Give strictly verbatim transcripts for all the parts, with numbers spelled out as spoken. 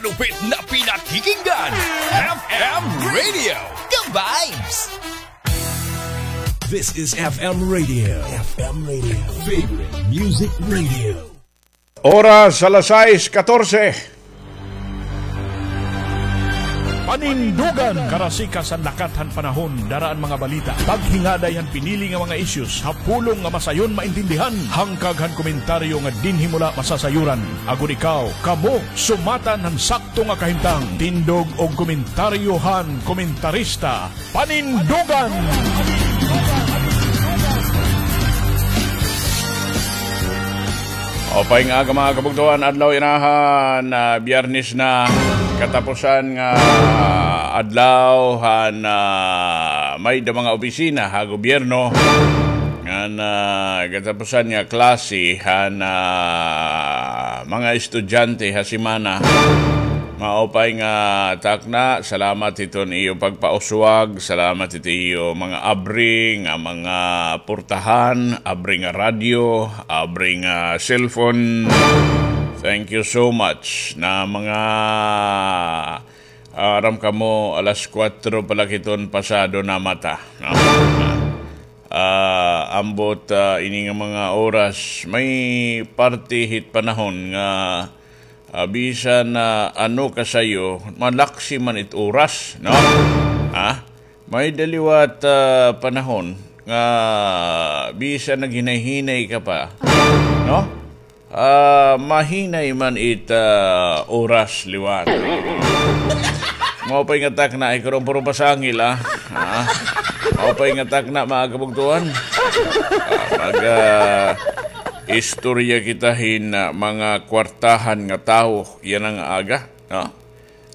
Lupit na pinakikinggan. F M Radio, the vibes. This is F M Radio. F M Radio. Favorite Music Radio. Oras alas sais katorse. Panindugan. Karasikas han lakat han panahon, dara an mga balita, paghingaday han pinili nga mga issues ha pulong nga masayon maintindihan, hangkag han komentaryo nga dinhi mo la masasayoran. Agod ikaw, kamo, sumatan han sakto nga kahimtang, tindog og komentaryo han komentarista. Panindugan! Maupay nga aga, mga kabugtoan, adlaw yana han, ah, Biyernes na, katapusan nga adlaw han, ah, may-ada mga opisina ha gobyerno, ngan, ah, katapusan nga klase han, ah, mga estudyante ha semana. Maupay nga takna, salamat hiton iyo pagpauswag, salamat hit iyo mga abri nga mga portahan, abri nga radyo, abri nga cellphone. Thank you so much na mga, ah, aram kamo, alas kuwatro pa la hiton pasado na mata, no? Ah, ambot, ah, ini nga mga oras, may parte hit panahon nga, ah, bisan na ano ka sayo, malaksi man it oras, no? Ha? May-ada liwat, ah, panahon nga bisan naghinay-hinay ka pa, no? Ah, mahinay man it, ah, oras liwat. Maupay nga takna, ay kurong puro pasangil, ah. Ah, maupay nga takna, mga kabugtoan. Ah, mag, ah, istorya kita hin, ah, mga kwartahan nga tawo yana nga aga, no?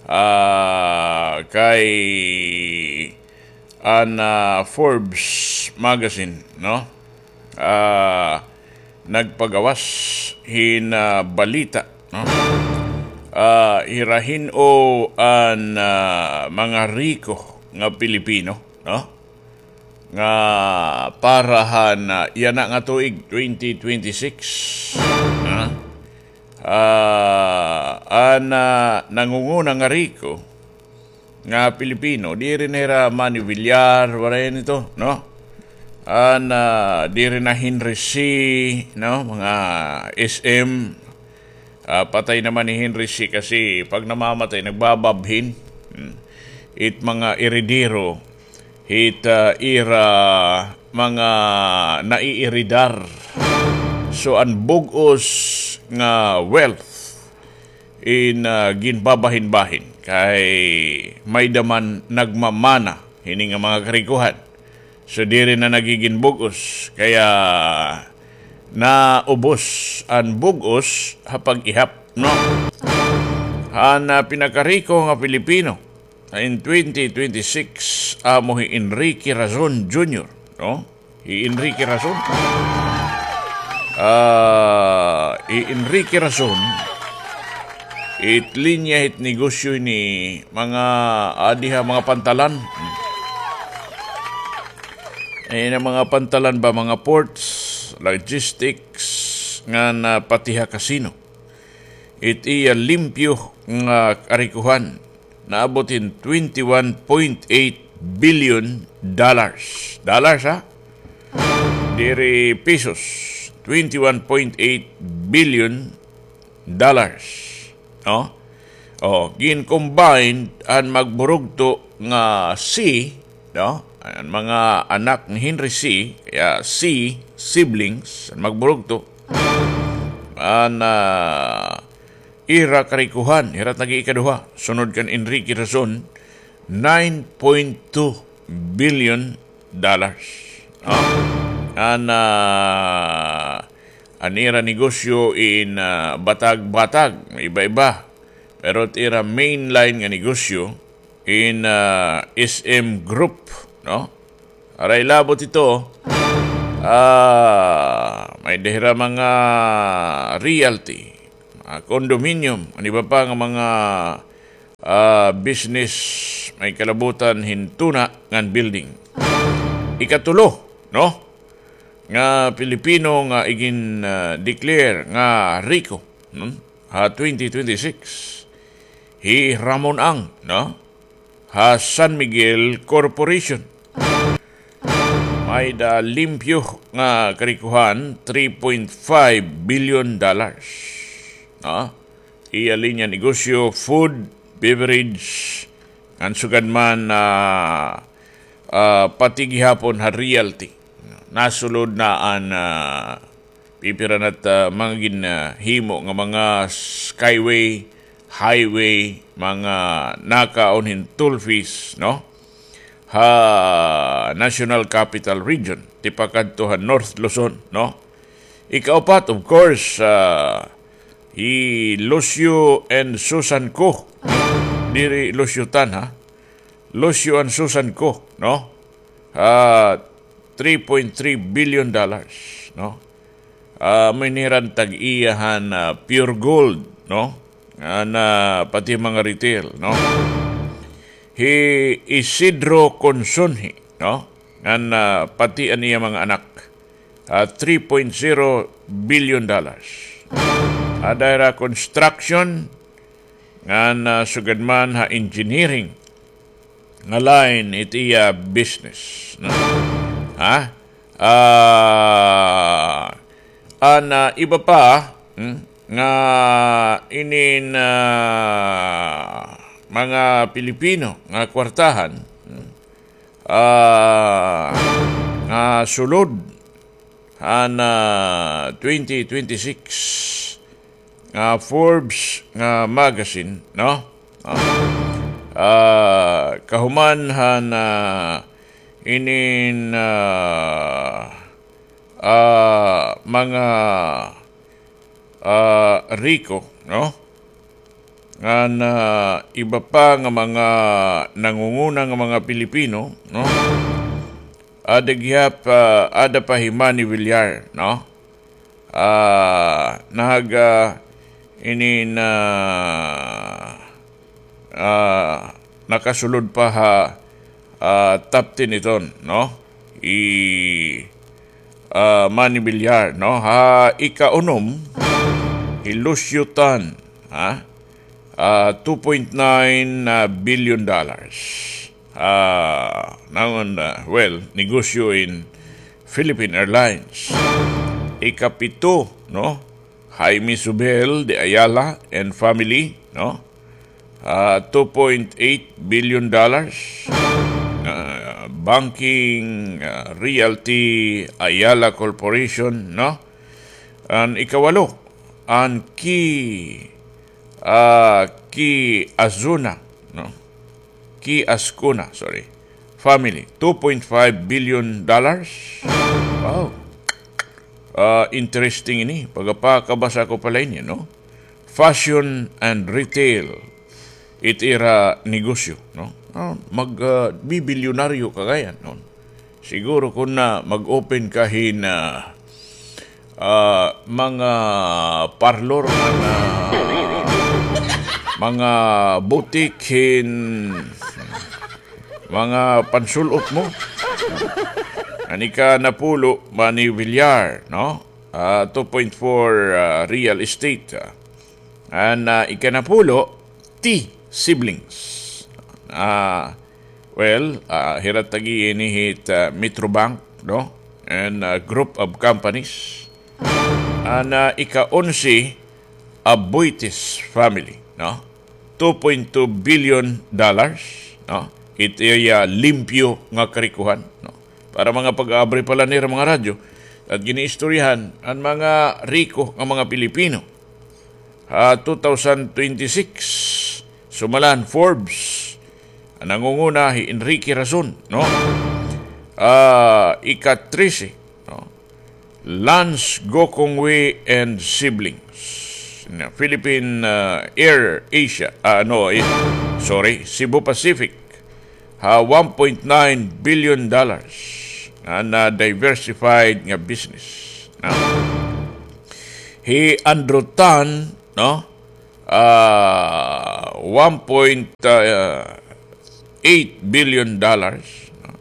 Ah, kay an, ah, Forbes magazine, no? Ah, nagpagawas hin, ah, balita, no? Ah, hira hin-o an, ah, mga riko nga Pilipino, no? Nga para han, ah, yana nga tuig, twenty twenty-six, no? Ah, an, ah, nangunguna nga riko nga Pilipino, diri na hira Manny Villar, waray nito, no? An, ah, diri na Henry Sy, no? Mga S M, ah, patay naman hi Henry Sy kasi pag namamatay, nagbababhin. Hmm. It mga eredero, hit, ah, ira mga naiiridar. So, an bug-os nga wealth in, ah, ginbabahin-bahin kay may-ada man nagmamana hini nga mga karikohan. So, diri na nagigin bug-os, kaya naubos an bug-os ha pag-ihap, no? An, ah, pinakariko nga Pilipino in twenty twenty-six, amo hi Enrique Razon Junior, no? Hi Enrique Razon. Ah, hi Enrique Razon, it linya hit negosyo ini mga, ah, diha mga pantalan. Eh, na mga pantalan ba, mga ports, logistics, ngan pati ha casino. It iya limpyo nga karikohan naabot hin twenty-one point eight billion dollars. Dollars, ha? Diri pesos. Twenty-one point eight billion dollars. No? Oh, gin-combine an magburugto nga Sy, no? An mga anak ni Henry Sy, kaya Sy siblings, an magburugto. An, ah, ira karikohan, hira it nag-iikaduha, sunod kan Enrique Razon, nine point two billion dollars. No? An, ah, an ira negosyo in, ah, batag-batag, iba-iba. Pero it ira main line nga negosyo in, ah, S M Group, no? Aray labot ito, ah, may-ada hira mga realty, ah, condominium, an iba pa nga mga, ah, business, may kalabutan hin tuna ngan building. Ikatulo, no? Nga Pilipino nga igin, ah, declare nga riko, hmm? Ha twenty twenty-six. hi Ramon Ang, no? Ha San Miguel Corporation. May-ada limpyo nga karikohan, three point five billion dollars. No? Iya linya negosyo, food, beverage, ngan sugad man, ah, ah, pati gihapon ha realty. Nasulod na an, ah, pipira na it, ah, mga gin, ah, himo nga mga skyway, highway, mga nakaon hin toll fees, no? Ha National Capital Region, tipakadto ha North Luzon, no? Ikaupat, of course, ah, hi Lucio and Susan Co. Diri Lucio Tan, ha? Lucio and Susan Co., no? Ah, three point three billion dollars, no? Ah, amo ini hira an tag-iya han, ah, Pure Gold, no? Ngan, ah, pati mga retail, no? Hi Isidro Consunji, no? Ngan, ah, pati an iya mga anak. Ah, three point zero billion dollars. Ada hira construction, ngan, ah, sugad man ha engineering nga line it iya business, no? Ha? Ah, an, ah, iba pa, hmm, nga inin, ah, mga Pilipino nga kwartahan, hmm, ah, nga sulod han, ah, twenty twenty-six nga Forbes nga magazine, no? Ah, ah, kahuman han, ah, inin, ah, ah, mga, ah, riko, no? Ngan, ah, iba pa nga mga nangunguna nga mga Pilipino, no? Ada gihap, ah, ada pa hi Manny Villar, no? Ah, nahaga ini na, ah, nakasulod pa ha, ah, top ten iton, no? Hi, ah, Manny Villar, no? Ha ikaunom, hi Lucio Tan, ha? Ah, two point nine, ah, billion dollars. Ah, nangon, ah, well, negosyo in Philippine Airlines. Ikapito, no? Jaime Subel de Ayala and family, no? Ah, two point eight billion dollars. Ah, banking, ah, realty, Ayala Corporation, no? An ikawalo, an Ki, ah, Ki Azuna, no? Ki Azcuna, sorry. Family, two point five billion dollars. Wow. Ah, interesting ini. Pagapakabasa ko pa la ini, no? Fashion and retail. It ira negosyo, no? Ah, mag, ah, bibilyonaryo ka gayod, no? Siguro kon na mag-open ka hin, ah, ah, mga parlor, mga, mga boutique hin mga pansul-ot mo. An ikanapulo, Manny Villar, no? Ah, two point four, ah, real estate, ah. An, ah, ikanapulo, T Siblings. Ah, well, ah, hira tagi ini hit, ah, Metrobank, no? And, ah, group of companies. An, ah, ika-onse, Aboitiz family, no? Two point two billion dollars, no? It iya limpyo nga karikohan, no? Para mga pag-aabri pa la nira mga radyo, at giniistoryahan an mga riko nga mga Pilipino. Ha two thousand twenty-six, sumala han Forbes, an nangunguna hi Enrique Razon, no? Ah, ika-trese, no? Lance Gokongwei and siblings. Na Philippine, ah, Air Asia, ah, no, eh, sorry, Cebu Pacific. Ha one point nine billion dollars nga na diversified nga business. Na, hi Andrew Tan, no? Ah, one point eight billion dollars, no?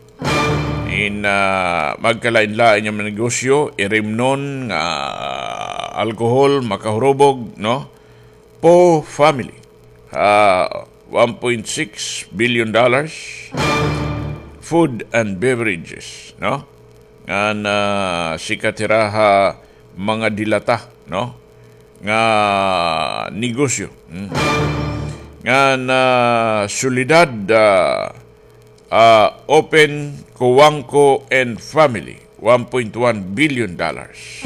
In, ah, magkalain-lain nga mga negosyo, irimnon nga alcohol, makahurubog, no? Po family. ah, one point six billion dollars. Food and beverages, no? Ngan, ah, sikat hira ha mga dilata, no, nga negosyo. Hmm. Ngan, ah, Soledad, ah, ah, Open Cojuangco and Family, one point one billion dollars.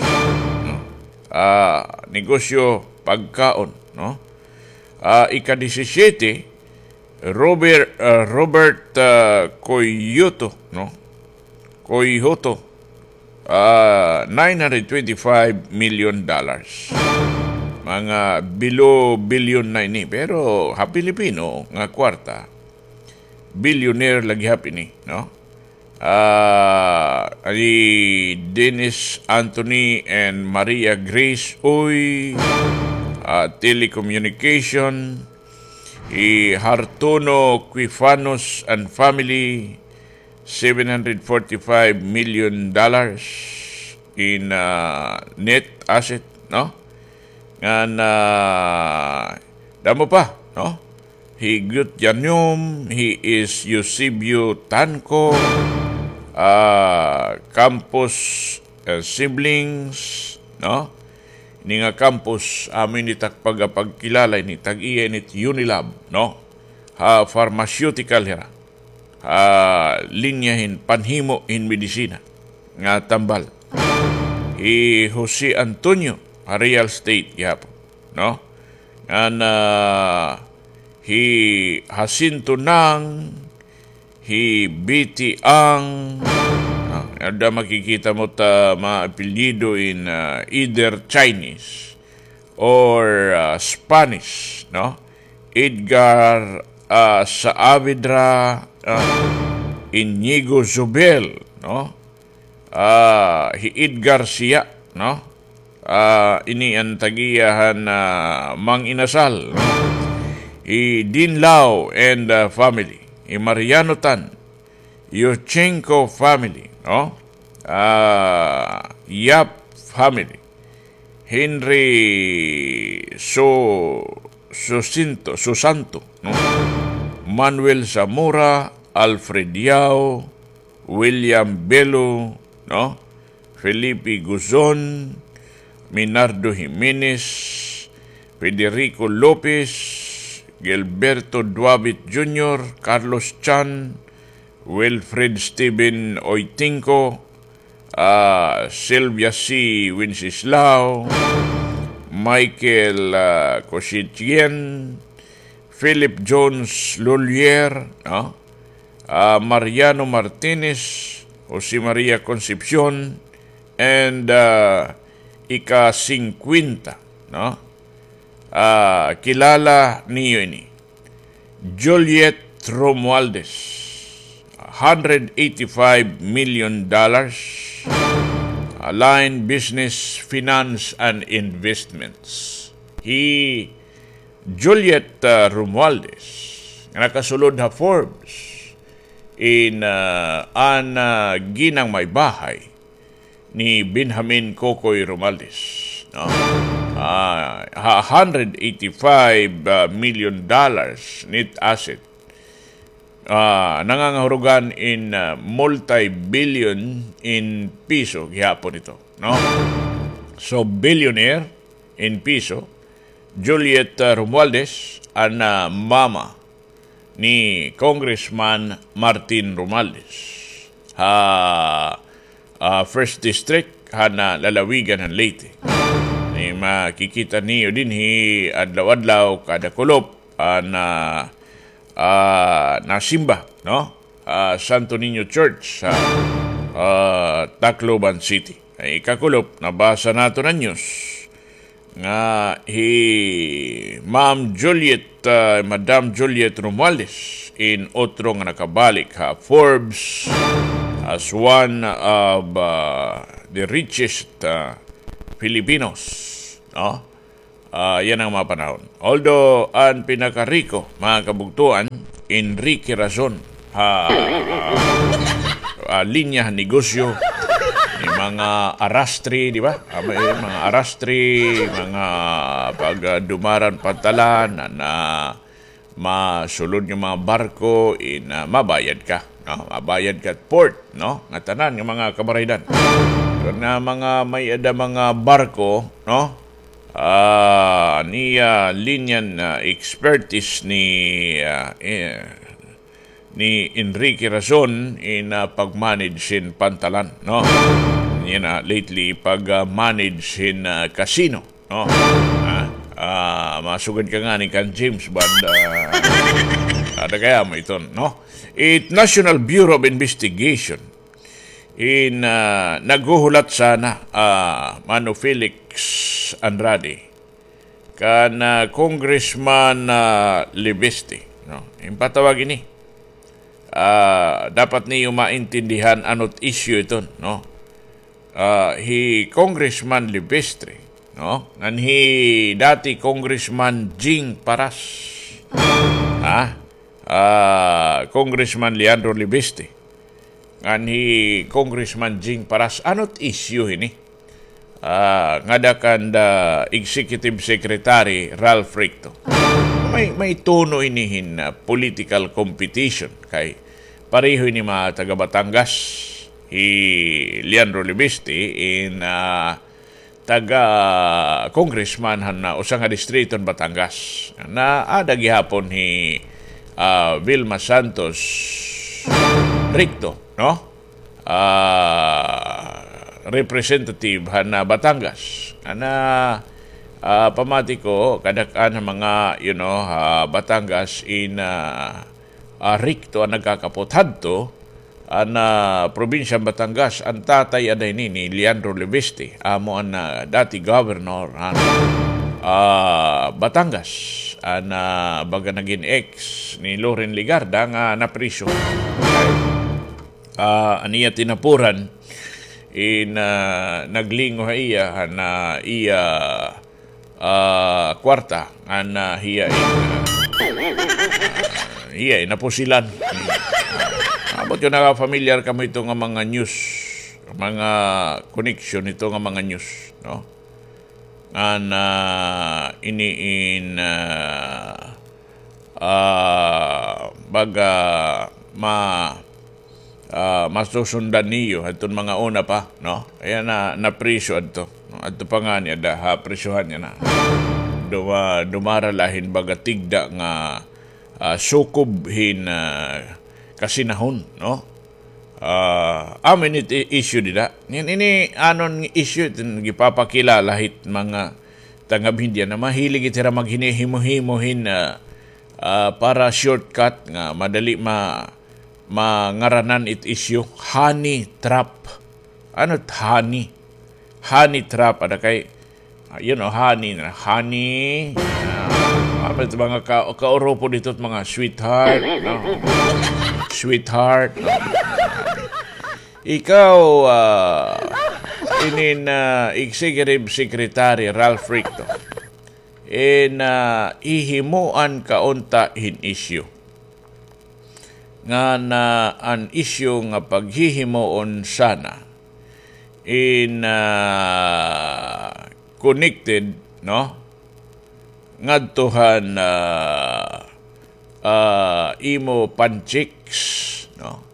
No? Ah, negosyo pagkaon, no? Ah, ika-disisiyete, Robert, ah, Robert, ah, Coyuto, no? Coyuto, ah, nine hundred twenty-five million dollars. Mga below billion na ini, pero ha Pilipino nga kwarta, billionaire la gihap ini, no? Ah, hi Dennis Anthony and Maria Grace Uy, ah, telecommunication, hi Hartono Quifanus and family, seven hundred forty-five million dollars in, ah, net asset, no? Ngan, ah, damo pa, no? Hi Gyut Yanyum, hi is Eusebio Tanco, ah, Campos, ah, siblings, no? Ini nga Campos, amo ini tak pagapagkilala ini, tag-iya ini it Unilab, no? Ha pharmaceutical hira. Ha linya hin panhimo hin medisina nga tambal. Hi Jose Antonio, ha real estate gihapon, no? Ngan, ah, hi Jacinto Nang, hi Betty Ang, no? Ada makikita mo ta mga apelyido in, ah, either Chinese or, ah, Spanish, no? Edgar, ah, Saavedra, ah, Inigo Zubel, no? Ah, hi Edgar Sia, no? Ah, ini an tag-iya han, ah, Mang Inasal, no? Hi Dean Lau and, ah, family. Hi Mariano Tan, Yurchenko family, no? Ah, Yap family. Henry Su-, Susinto, Susanto, no? Manuel Zamora, Alfred Yao, William Bello, no? Felipe Guzon, Minardo Jimenez, Federico Lopez, Gilberto Duabit Junior, Carlos Chan, Wilfred Steven Oitingco, ah, Sylvia C. Wenceslao, Michael, ah, Cositien, Philip Jones Lhuillier, no? Ah, Mariano Martinez, Jose Maria Concepcion, and, ah, ika-singkwenta, no? Ah, kilala niyo ini. Juliet Romualdez, hundred eighty-five million dollars, Align Business, Finance, and Investments. Hi Juliet, ah, Romualdez, nga nakasulod ha Forbes in, ah, an, ah, ginang may bahay ni Benjamin Kokoy Romualdez, no? Ah, ha, hundred eighty-five, ah, million dollars net asset. Ah, nangangahurugan in, ah, multi-billion in piso gihapon ito, no? So, billionaire in piso, Juliet, ah, Romualdez, an, ah, mama ni Congressman Martin Romualdez ha, ah, First District, han, ah, lalawigan han Leyte. Ni makikita niyo dinhi adlaw-adlaw, kada kulop, an, ah, ah, nasimba, no? Ah, Santo Niño Church sa, ah, Tacloban City. Ay, ikakulop, nabasa naton an news nga hi Ma'am Juliet, ah, Madam Juliet Romualdez, in utro nga nakabalik ha Forbes as one of, ah, the richest, ah, Filipinos, no? Ah, yana nga mga panahon. Although, an pinakariko, mga kabugtoan, Enrique Razon. Ha, ah, linya han negosyo, ni mga arastre, di ba? Ah, may mga arastre, mga pagdumaran pantalan, na, na, masulod nga mga barko in, ah, mabayad ka, no? Mabayad ka port, no? Nga tanan nga mga kabaraydan. Pero na mga may-ada mga barko, no? Ah, niya linyan na expertise ni, ah, eh, ni Enrique Razon in, ah, pag-manage hin pantalan, no? Niya na lately pag, ah, manage hin, ah, casino. No? Ha? Ah, masugad ka ngani kan James Bond, ah, ada kaya mo iton, no? It National Bureau of Investigation in, ah, naghuhulat sana, ah, Mano Felix Andrade, kan, ah, Congressman, ah, Leviste, no? Impatawag ini. Ah, dapat niyo maintindihan ano't issue iton, no? Ah, hi Congressman Leviste, no? Ngan hi dati Congressman Jing Paras. Ha? Ah, Congressman Leandro Leviste. Ngan hi Congressman Jing Paras, ano't issue ini? Ah, ngada kan the Executive Secretary Ralph Recto. May, may tono ini hin, ah, political competition kay pareho ini mga taga Batangas. Hi Leandro Leviste in, ah, taga congressman han, ah, usa nga distrito han Batangas. Naada gihapon hi, ah, Vilma Santos Recto, no? Ah, representative han, ah, Batangas. Ana, ah, pamati ko, kadak-an han mga, you know, ah, Batangas in, ah, ah, Recto an nagkakapot hadto, an, ah, probinsya han Batangas, an tatay ada ini ni Leandro Leviste, amo an, ah, dati governor han, ah, Batangas, an, ah, baga nagin ex ni Loren Legarda nga napriso. Ah, an iya tinapuran, in, ah, naglingo ha iya, han, ah, iya, ah, kwarta, ngan, ah, hiya in, ah, hiya in napusilan. Ambot ko, nakafamilyar kamo hito nga mga news, mga koneksyon hito nga mga news, no? Ngan, ah, ini in, ah, ah, baga ma-, ah, masusundan niyo adton mga una pa, no? Kaya na, napriso adto, no? Adto pa ngani ada ha prisohan niya na. Duma-, dumara la hin baga tigda nga, ah, sukob hin, ah, kasinahon, no? Ah, amo ini it issue dida. Ini, ini anon issue iton gipapakilala hit mga taga-media na mahilig it hira maghihimo-himo hin, ah, ah, para shortcut nga madali ma-, mangaranan it issue. Honey trap. Ano it honey? Honey trap, ada kay, ah, you know, honey na, honey. Ah, mga ka-, kaurupo dito, mga sweetheart, no? Sweetheart, no? Ikaw, ah, inin, ah, Executive Secretary Ralph Recto, in, ah, hihimuan ka unta hin issue. Ngan an issue nga paghihimuon sana in, ah, connected, no? Ngadto han, ah, ah, imo panchicks, no?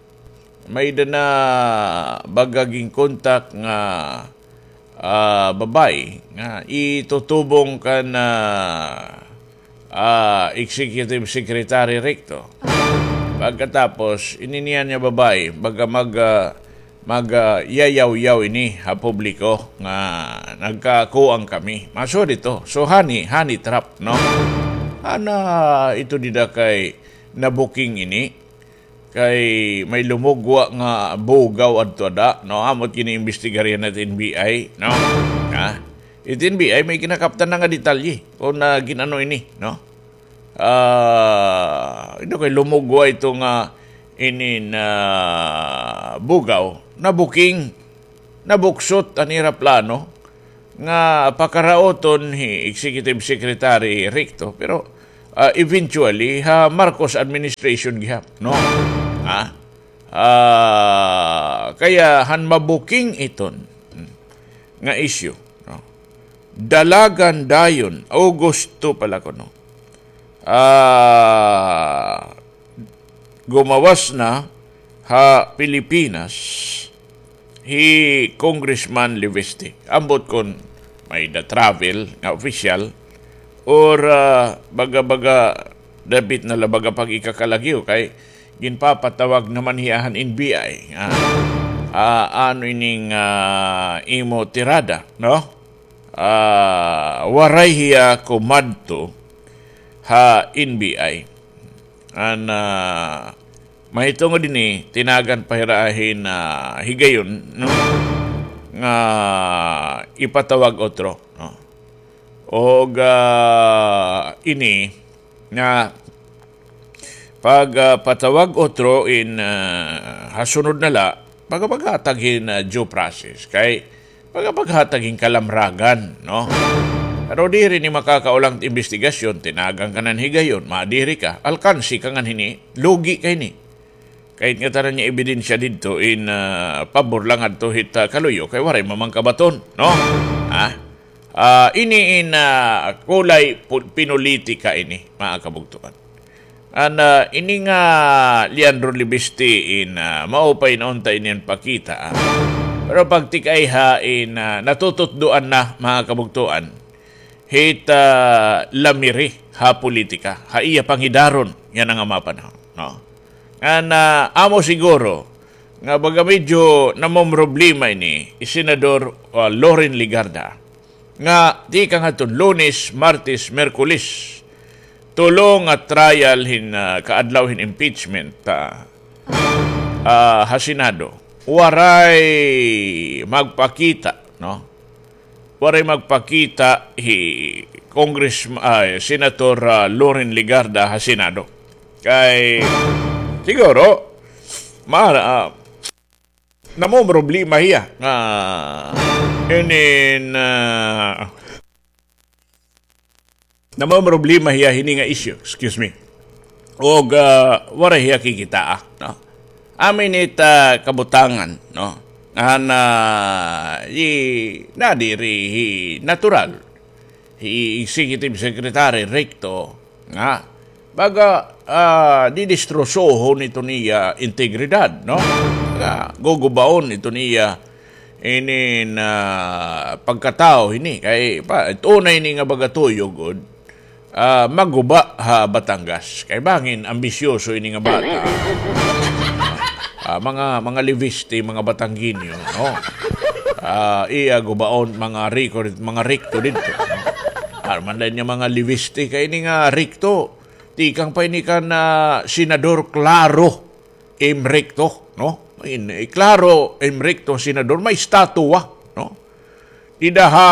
May-ada na baga ginkontak nga, ah, babaye nga itutubong kan, ah, ah, Executive Secretary Recto. Pagkatapos, ini niyan nga babaye, baga mag, ah, mag, ah, yayaw-yaw ini ha publiko nga nagkakuan kami. Masud ito. So, honey, honey trap, no? Ana, ito dida kay nabuking ini. Kay may lumugwa nga bugaw adto ada, no? Amo it giniimbestigahan hit N B I, no? Ha? It N B I may kinakaptan na nga detalye kon, ah, gin-ano ini, no? Ah, ito kay lumugwa ito nga inin bugaw, nabuking, nabuksot an ira plano nga pakarauton hi Executive Secretary Recto, pero, ah, eventually, ha Marcos administration gihap, no? Ha? Ah, kaya han mabuking iton, hmm, nga issue, no? Dalagan dayon, Augusto pala kuno. ah, gumawas na ha Pilipinas hi Congressman Leviste. Ambot kon may-ada travel nga opisyal or, ah, baga-baga dapit na la baga pag-ikakalagyo kay ginpapatawag naman hiya han N B I nga, ah, ano ining, ah, imo tirada, no? Ah, waray hiya kumadto ha N B I. An, ah, mahitungod ini, tinagan pa hira hin, ah, higayon, no? Nga ipatawag utro, no? Og, ah, ini nga pag, ah, patawag utro in, ah, ha sunod na la, pagapaghatag hin, ah, due process. Kay pagapaghatag hin kalamragan, no? Pero diri ini makakaulang it imbestigasyon, tinagan ka na hin higayon, madiri ka, alkansi ka ngan hini, lugi ka hini. Kay it ngatanan nga ebidensya didto in, ah, pabor la ngadto hit, ah, kaluyo, kay waray mamangkabaton, no? Ha? Ah, ini in, ah, kulay pu-, pinulitika ini, mga kabugtuan. An, ah, ini nga Leandro Leviste in, ah, maupay na unta ini an pakita, ah. Pero pagtik-ay ha in, ah, natututdoan na, mga kabugtuan, hit, ah, lamiri ha politika, ha iya pangidaron yana nga mga panahon, no? Ngan, ah, amo siguro nga baga medyo namomroblema ini hi Senador, ah, Loren Legarda nga tikang hadton Lunes, Martes, Miyerkules, tulo nga trial hin, ah, kaadlaw hin impeachment, ah, ah, ha Senado. Waray magpakita, no? Waray magpakita hi Congress-, ah, Senator, ah, Loren Legarda ha Senado. Kay siguro, ma-, ah, namomroblema hiya nga inin, ah, namomroblema hiya hini nga issue, excuse me. Og, ah, waray hiya kikitaa, no? Amo ini it, ah, kabutangan, no? Nga na, i-, nadiri hi natural hi Executive Secretary Recto nga baga, ah, didistrosohon iton iya integridad, no? Nga gugubaon iton iya inin, ah, pagkatawo hini. Kay pa, it una ini nga baga tuyo gud, ah, maguba ha Batangas. Kay bangin ambisyoso ini nga bata. Ah, mga, mga Leviste, mga Batanggenyo, no? Ah, iya gubaon, mga Recto, mga Recto didto, no? Ano man dayon nga mga Leviste kay ini nga Recto. Tikang pa ini kan, ah, Senador Claro M. Recto, no? In, eh, Claro M. Recto, Senador, may estatwa, no? Dida ha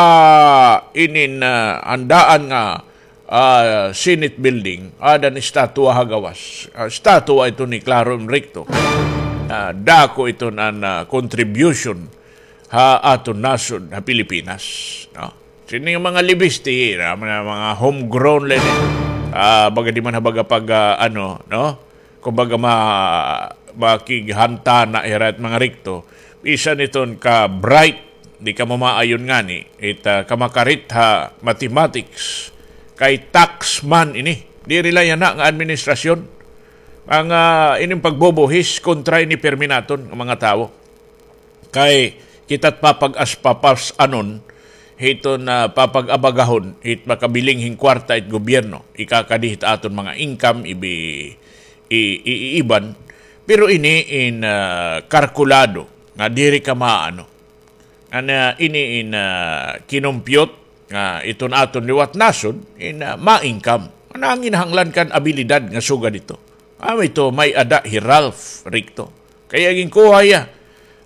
inin, ah, andaan nga, ah, Senate Building, aada an estatwa ha gawas. Ah, estatwa ito ni Claro M. Recto. Ah, dako ito an, ah, contribution ha aton nasod ha Pilipinas, no? Sini nga mga Leviste, na mga, mga homegrown la ini. Ah, baga di man ha baga pag, ah, ano, no? Kumbaga ma-, makighantana hira it mga Recto. Bisan iton ka bright, di ka mamaayon ngani, it, ah, kamakarit ha mathematics, kay tax man ini. Diri la yana nga administrasyon. Ang, ah, ining pagbubuhis kontra ini pirmi naton nga mga tawo. Kay kita't papag-aspapas-anon hiton, ah, papag-abagahon hit makabiling hin kwarta it gobyerno, ikakadi hit aton mga income, ibi-, i-, i-, iiban. Pero ini in, ah, kalkulado nga diri ka maano. Nga na ini in, ah, kinumpyot nga iton aton liwat nasod in, ah, ma-income. Nanginahanglan kan abilidad nga sugad ito. Amo ito, may-ada hi Ralph Recto. Kay ginkuha hiya,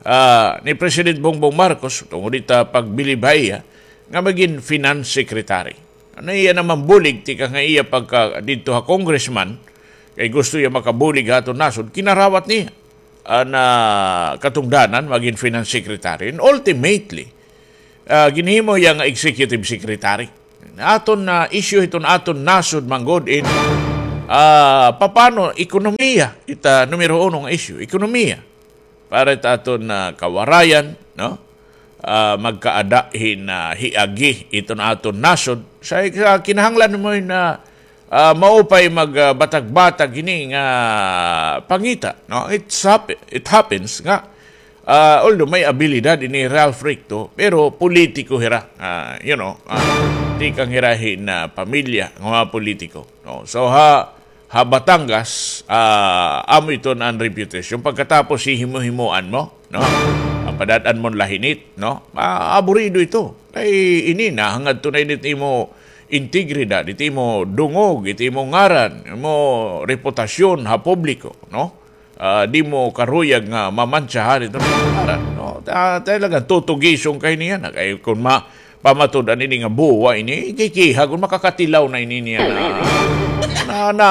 ah, ni President Bongbong Marcos, tungod hit, ah, pagbilib ha iya, nga magin finance secretary. Ano iya naman bulig, tikang ha iya pagka didto ha congressman, kay gusto iya makabulig ha aton nasod, kinarawat niya an, ah, katungdanan, magin finance secretary. And ultimately, ah, ginhimo hiya nga executive secretary. Aton na issue hiton aton nasod man gud in, ah, papano ekonomiya. Kita numero uno nga issue, ekonomiya. Para it aton, ah, kawarayan, no? Ah, magkaada hin, ah, hiagi iton aton nasod. Sa, sa kinahanglan mo in, ah, Ah, maupay mag, ah, batag-batag ini nga pangita, no? It's hap-, it happens nga, ah, although may abilidad ini Ralph Recto, pero politiko hira, ah, you know, ah, tikang hira hin, ah, pamilya nga mga politiko, no? So, ha, ha Batangas, ah, amo iton an reputation. Pagkatapos hihimo-himoan mo, no? Ah, padad-an mo lahinit, no? Ah, aburido ito. Kay ini na, hangadto na ini it imo integridad, it imo dungog, it imo ngaran, imo reputasyon ha publiko, no? Ah, di mo karuyag nga mamantsahan ito nga ngaran, no? Ta-, talagang tutugison kay niya na. Kay kun ma-, pamatud-an ini nga buwa ini, ikikiha kun makakatilaw na ini niya na, na, na,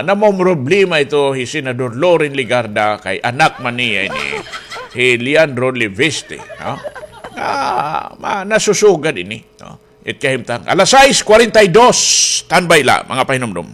namomroblema ito hi Senador Loren Legarda kay anak man niya ini, hi Leandro Leviste, no? Ah, ma-, nasusugad ini, no? It kahimtang. Alas sais kuwarenta y dos, standby la, mga pahinumdom.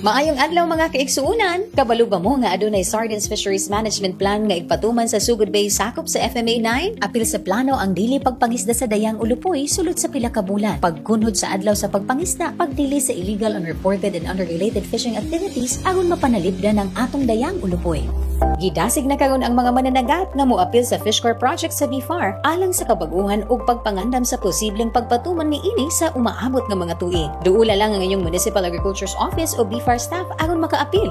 Maayong adlaw, mga kaigsuonan! Kabalo ba mo nga adunay Sardines Fisheries Management Plan nga igpatuman sa Sugod Bay sakop sa F M A nine? Apil sa plano ang dili pagpangisda sa dayang ulupoy sulod sa pila ka bulan, pagkunhod sa adlaw sa pagpangisda, pagdili sa illegal, unreported, and unregulated fishing activities aron mapanalipdan ang atong dayang ulupoy. Gidasig na karon ang mga mananagat nga moapil sa Fish Corps project sa BFAR alang sa kabag-ohan ug pagpangandam sa posibleng pagpatuman niini sa umaabot nga mga tuig. Duola lang ang inyong Municipal Agriculture's Office o BFAR staff aron makaapil.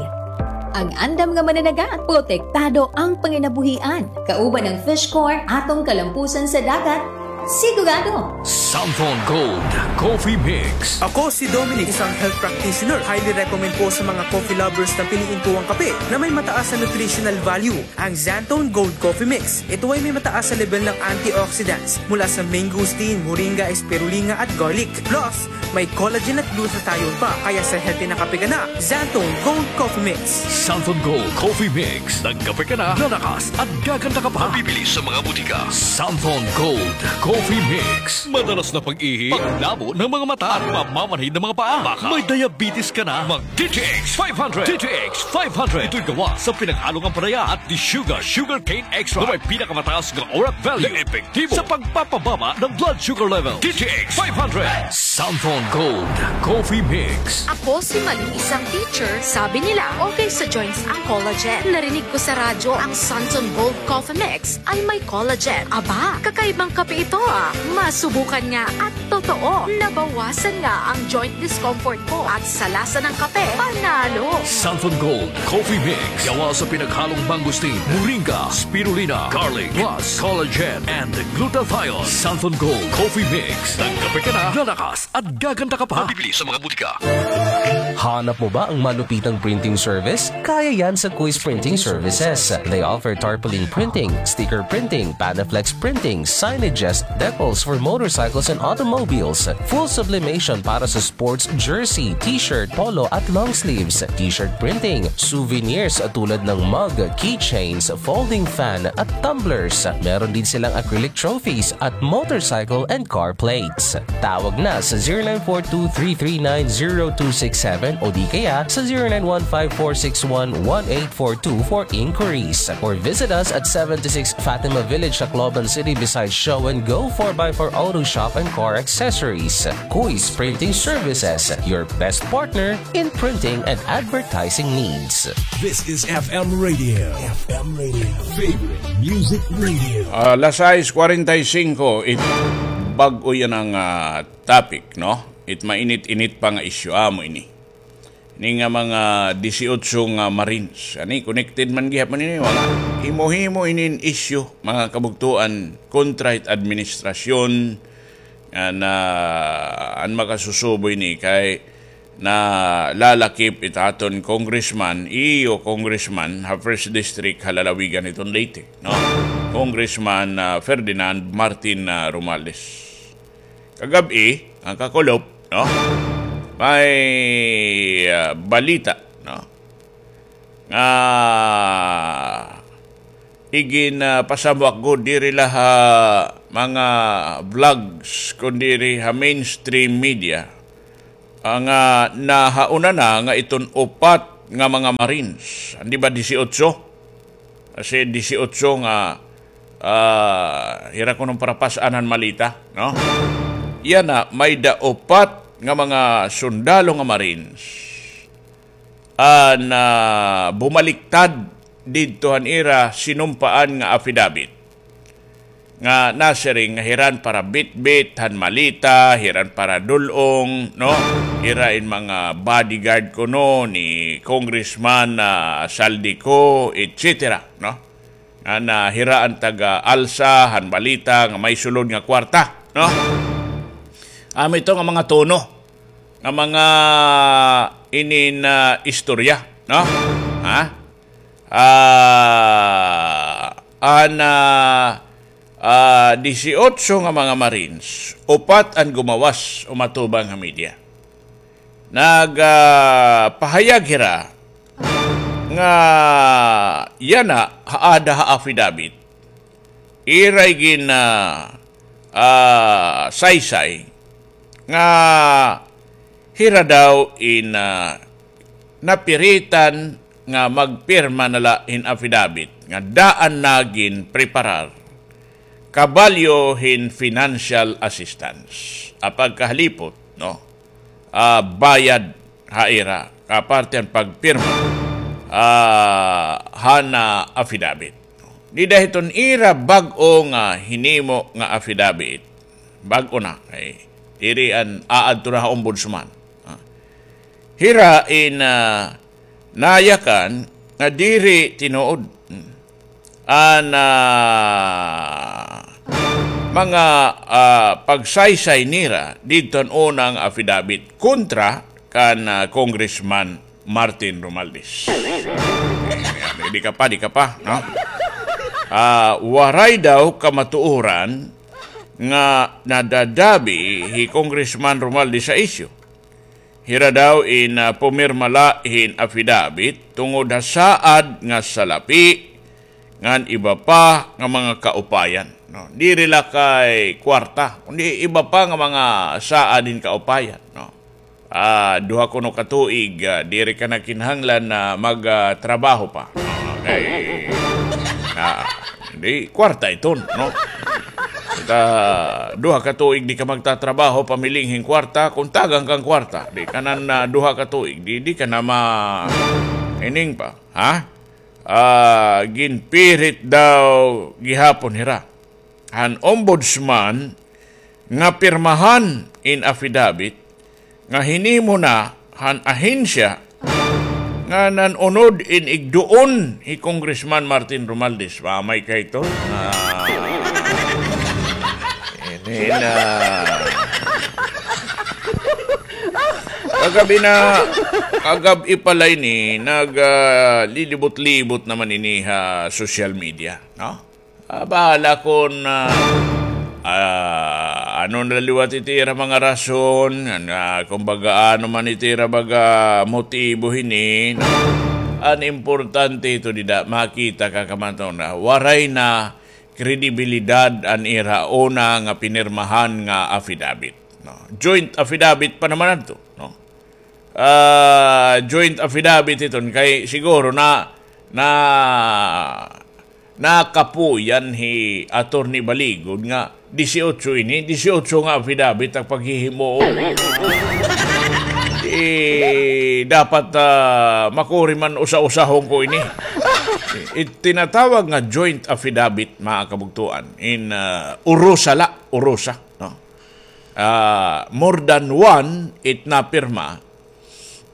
Ang andam nga mananagat, protektado ang panginabuhian. Kauban ang Fish Corps, atong kalampusan sa dagat, sigurado! Santon Gold Coffee Mix. Ako si Dominic, isang health practitioner. Highly recommend po sa mga coffee lovers na piliin po ang kape na may mataas na nutritional value, ang Xanthone Gold Coffee Mix. Ito ay may mataas na level ng antioxidants mula sa mangosteen, moringa, spirulina at garlic. Plus, may collagen at glutathione pa, kaya sa healthy na kape ka na, Xanthone Gold Coffee Mix. Santon Gold Coffee Mix. Nagkape ka na, lalakas at gaganda ka pa. Mabibili sa mga butika. Santon Gold Coffee Mix. Madalas na pag-ihi, paglabo ng mga mata, at mamamanhid ng mga paa. Baka may diabetes ka na. Mag D T X five hundred. D T X five hundred. Ito'y gawa sa pinaghalong ampalaya at desugar, sugar cane extract, na may pinakamataas na orat value na epektibo sa pagpapababa ng blood sugar level. D T X five hundred. Santon Gold Coffee Mix. Ako si Maling, isang teacher. Sabi nila, okay sa joints ang collagen. Narinig ko sa radyo ang Santon Gold Coffee Mix ay may collagen. Aba, kakaibang kape ito, ah. Masubukan nga at totoo, nabawasan nga ang joint discomfort ko at sa lasa ng kape, panalo. Santon Gold Coffee Mix. Gawa sa pinaghalong mangosteen, moringa, spirulina, garlic, plus collagen and glutathione. Santon Gold Coffee Mix. Nagkape ka na, lalakas at gaganda ka pa. Mabibili sa mga butika. Hanap mo ba ang malupitang printing service? Kaya yan sa Kuis Printing Services. They offer tarpaulin printing, sticker printing, Panaflex printing, signages, decals for motorcycles and automobiles, full sublimation para sa sports jersey, t-shirt, polo at long sleeves, t-shirt printing, souvenirs tulad ng mug, keychains, folding fan at tumblers. Meron din silang acrylic trophies at motorcycle and car plates. Tawag na sa zero nine four two three three nine zero two six seven o di kaya sa zero nine one five four six one one eight four two for inquiries. Or visit us at seventy-six Fatima Village, Tacloban City, beside Show and Go four by four Auto Shop and Car Accessories. Kuis Printing Services, your best partner in printing and advertising needs. This is F M Radio. F M Radio. Favorite Music Radio. Alas sais kuwarenta y singko, it bag-o yana nga, ah, topic, no? It mainit-init pa nga isyu, amo ini. Ini nga mga disiotso nga Marines. Ani, connected man gihapon ini, mga himo-himo inin isyu, mga kabugtoan, kontra it administrasyon, nga na, an makasusubo ini kay nalalakip it aton congressman, iyo congressman, ha First District, ha lalawigan hiton Leyte, no? Congressman, ah, Ferdinand Martin, ah, Romales. Kagab-i, mga kakulop, no? May, ah, balita, no? Nga igin, ah, pasamwak gud diri la ha mga vlogs, kun diri ha mainstream media, ah, nga nahauna na nga iton upat nga mga Marines, di ba, disiotso? Kasi disiotso nga, ah, hira kuno parapas-an han maleta, no? Yana, may-ada upat nga mga sundalo nga Marines an, ah, bumaliktad didto han ira sinumpaan nga affidavit. Nga nasiring nga hira an para bitbit han maleta, hira an para dul-ong, no? Hira in mga bodyguard kuno ni Congressman, ah, Zaldy Co, et cetera, no? Nga na hira an taga-alsa han maleta nga may sulod nga kwarta, no? Amo ito nga mga tono, nga mga inin, ah, istorya, no? Ha? Ah, an, ah, ah, disiotso nga mga Marines, upat an gumawas umatubang ha media. Nag, ah, pahayag hira nga yana ha ada ha affidavit, iray gin, ah, ah, saysay nga hira daw in, ah, napiritan nga magpirma na la hin affidavit nga daan na ginpreparar kabalyo hin financial assistance. Ha pagkahalipot, no? Ah, bayad ha ira, aparte han pagpirma, ah, han, ah, affidavit. Dida hiton ira bag-o nga hinimo nga affidavit. Bag-o na, kay diri an aadto na ha ombudsman. Ah. Hira in, ah, nayakan nga diri tinuod. Hmm. An, ah, mga, ah, pagsaysay nira didto han una nga affidavit kontra kan, ah, Congressman Martin Romualdez. Di ka pa, di ka pa, no? Ah, waray daw kamatuoran nga nadadabi hi Congressman Romualdez ha isyu. Hira daw in, ah, pumirma la hin affidavit tungod ha saad nga salapi ngan iba pa nga mga kaupayan, no? Diri la kay kwarta, kundi iba pa nga mga saad hin kaupayan, no? Ah, duha kuno ka tuig, ah, diri ka na kinahanglan na mag, ah, trabaho pa. Okay. Ah, di, kwarta iton, no? Ka, duha ka tuig di ka magtatrabaho, pamiling hin kwarta, kuntagan kan kwarta. Di ka na, na duha ka tuig, di, di ka na ma-, ining pa, ha? Ah, ginpirit daw gihapon hira han ombudsman nga pirmahan in affidavit nga hinimo na han ahensya nga nan-unod in igduon hi Congressman Martin Romualdez. Mamay kay ito. Ah, ini na. Kagab-i na, kagab-i pala ini, nag, ah, lilibot-libot naman ini ha social media, no? Ah, bahala kon, ah, ah, ano na liwat iti ira mga rason, nga, kumbaga, ano man iti ira baga motibo hini, no? An importante ito dida, makita ka kamanton na waray na kredibilidad an ira una nga pinirmahan nga affidavit, no? Joint affidavit pa naman adto, no? Ah, joint affidavit iton kay siguro na, na, nakapuyan hi Attorney Baligod nga disiotso ini, disiotso nga affidavit an paghihimo. Eh, dapat, ah, makuri man usa-usahon ko ini. It tinatawag nga joint affidavit, mga kabugtuan, in, ah, urusa la, urusa, no? Ah, more than one it napirma,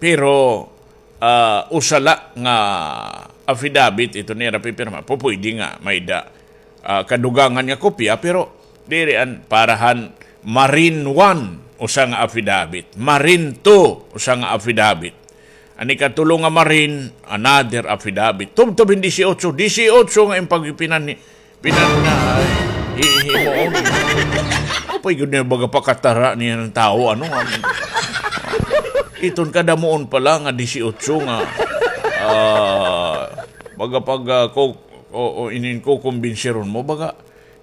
pero, ah, usa la nga affidavit ito nira pipirma. Pupuydi nga may-ada, ah, kadugangan nga kopya, pero diri an para han Marine one, usa nga affidavit. Marine two, usa nga affidavit. An ikatulo nga Marine, another affidavit. Tubtob hin disiotso, disiotso nga im pagpinan-, pinan-, ah, hi-, himuon. Apay gud niya baga pakatara niya nga tawo, ano, ah. Iton kadamuon pa la nga disiotso nga, ah, baga pag, ah, ko-, o, o, inin kukumbinsiron mo, baga,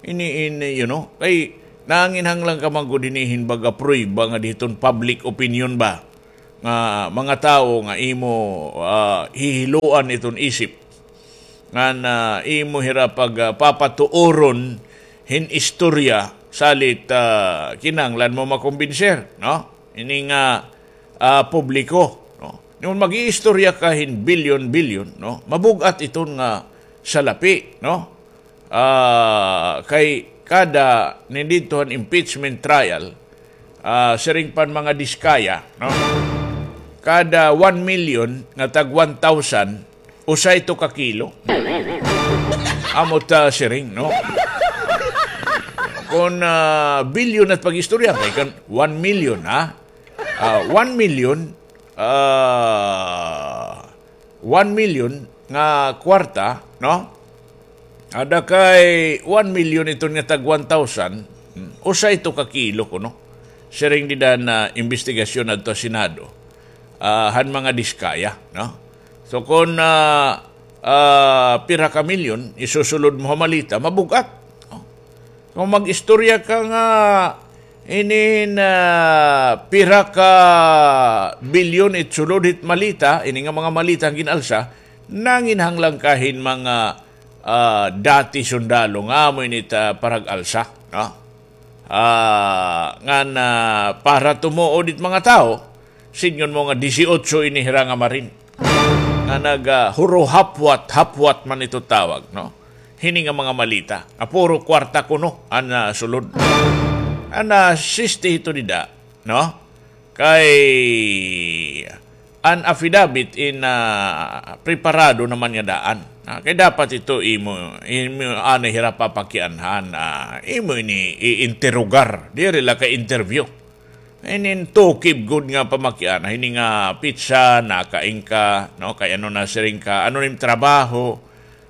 ini, ini, you know, kay nanginhanglan ka man gud hini hin baga prueba nga didto han public opinion ba? Nga mga tawo nga imo, ah, hihiloan iton isip. Ngan, ah, imo hira pag, ah, papatuoron hin istorya salit, ah, kinahanglan mo makumbinser, no? ini nga, ah, publiko, no? Ngon mag-iistorya ka hin bilyon-bilyon, no? Mabug-at iton nga salapi, no? Ah, kay kada nindidto han impeachment trial, ah, siring pa an mga Diskaya, no? Kada one million nga tag one thousand, usa ito ka kilo. Amo ta siring, no? Kon, ah, bilyon at pag-istorya, kay kan one million, ha? Ah, one million, ah, one million nga kwarta, no? Ada kay one million iton nga tag one thousand, hmm, usa ito ka kilo kuno. Siring dida na imbestigasyon adto ha Senado, ah, han mga Diskaya, no? So, kon, ah, ah, pira ka milyon, isusulod mo ha maleta, mabug-at, no? Kon mag-istorya ka nga inin, ah, pira ka bilyon it sulod hit maleta, ini nga mga maleta nga gin-alsa, nanginhanglan ka hin mga, ah, dati sundalo nga amo ini it, ah, parag-alsa, no? Ah, ngan, ah, para tumuod it mga tawo, sidngon mo nga disiotso ini hira nga Marine nga nag, ah, huruhapwat-hapwat man ito tawag, no? Hini nga mga maleta nga puro kwarta kuno an, ah, sulod. An, ah, siste ito dida, no? Kay an affidavit in, ah, preparado naman nga daan. Ah, kay dapat ito imo, imo anay hira papakianhan, ah, imo ini i-interrogar. Diri la ka interview. Inin tukib gud nga pamakiana, hini nga pitsa, nakain ka, no? Kay ano na siring ka, ano nim trabaho?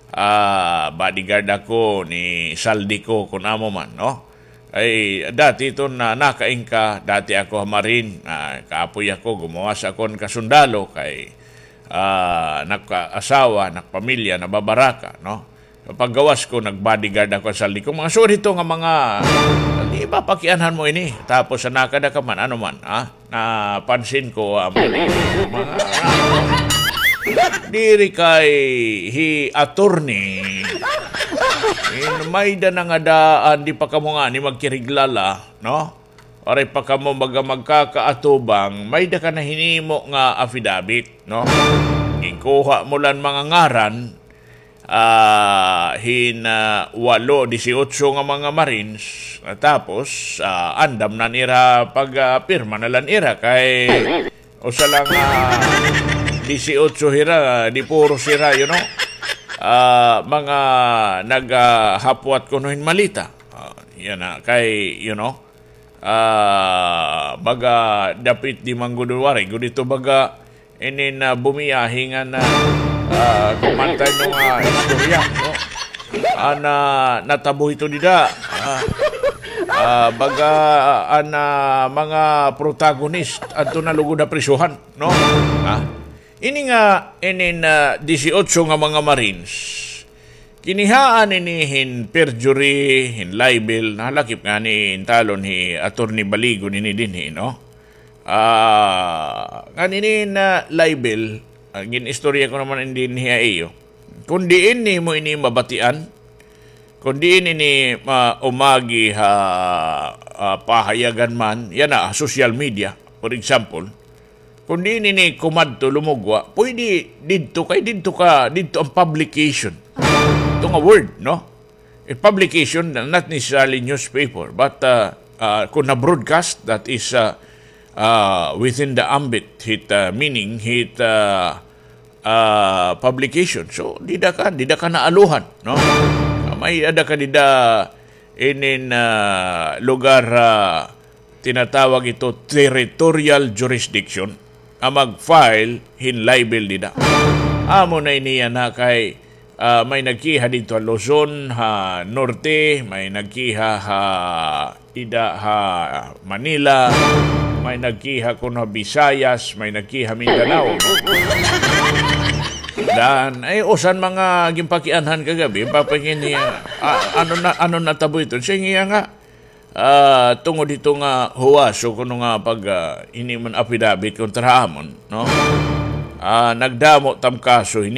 Ah, bodyguard ako ni Saldi ko, kun amo man, no? Ay, dati ito na, nakain ka, dati ako ha Marine, ah, kaapoy ako, gumuwas ako han kasundalo, kay, ah, nakaasawa, nakapamilya, nababaraka, no? Paggawas ko, nag-bodyguard ako ha Saldi ko. Mga sugad hito nga mga, di ba, pakianhan mo ini? Tapos, sa nakada ka man, ano man, ha? Napansin ko, ah, mga, mga, diri kay hi attorney. In, may-ada na nga daan, di pa kamo ngani magkiriglala, no? Waray pa kamo baga magkakaatubang, may-ada ka na hinimo nga affidavit, no? Ginkuha mo la an mga ngaran, ah, hin, ah, walo, disiotso nga mga Marines, ah, tapos, ah, andam na an ira pag, ah, pirma na la nira kay usa la nga, ah, disiotso hira, di puro sira, you know, ah, mga nag, ah, hapwat kuno hin maleta. Ah, yana, kay, you know, ah, baga dapit di man gud, waray gud ito baga inin, ah, bumiyahe nga na, ah, kumanta ito nga istorya, no? An, ah, natabo ito dida, ah, ah, baga, an, ah, mga protagonist adto na lugod ha prisohan, no? Ah, ini nga, inin, ah, disiotso nga mga Marines, kinihaan ini hin perjury, hin libel, nahalakip ngani intalon hi Attorney Baligon ini dinhi, no? Ah, ngan ini nga libel, ah, gin-istorya ko naman ini dinhi ha iyo. Kon diin nimo ini mabatian, kon diin ini maumagi ha, ah, pahayagan man, yana, social media, for example, kon diin ini kumadto, lumugwa, pwede didto kay didto ka, didto an publication. Ito nga word, no? A publication, not necessarily newspaper, but, uh, uh, kon na-broadcast, that is, uh, uh, within the ambit, hit, uh, meaning, hit, uh, uh, publication. So, dida ka, dida ka naaluhan, no? Uh, may-ada ka dida inin, uh, lugar, uh, tinatawag ito territorial jurisdiction, nga mag-file hin libel dida. Amo na ini yana kay, ah, may nagkiha didto ha Luzon, ha Norte, may nagkiha ha, dida ha Manila, may nagkiha kuno ha Visayas, may nagkiha Mindanao. Dan, ay, usan mga ginpakianhan kagabi, papangin niya, ah, ano na, ano natabo ito? Siring hiya nga, ah, tungod hito nga huwaso kuno nga pag, ah, ini man affidavit kontra ha amon, no? Ah, nagdamo tam kaso ini.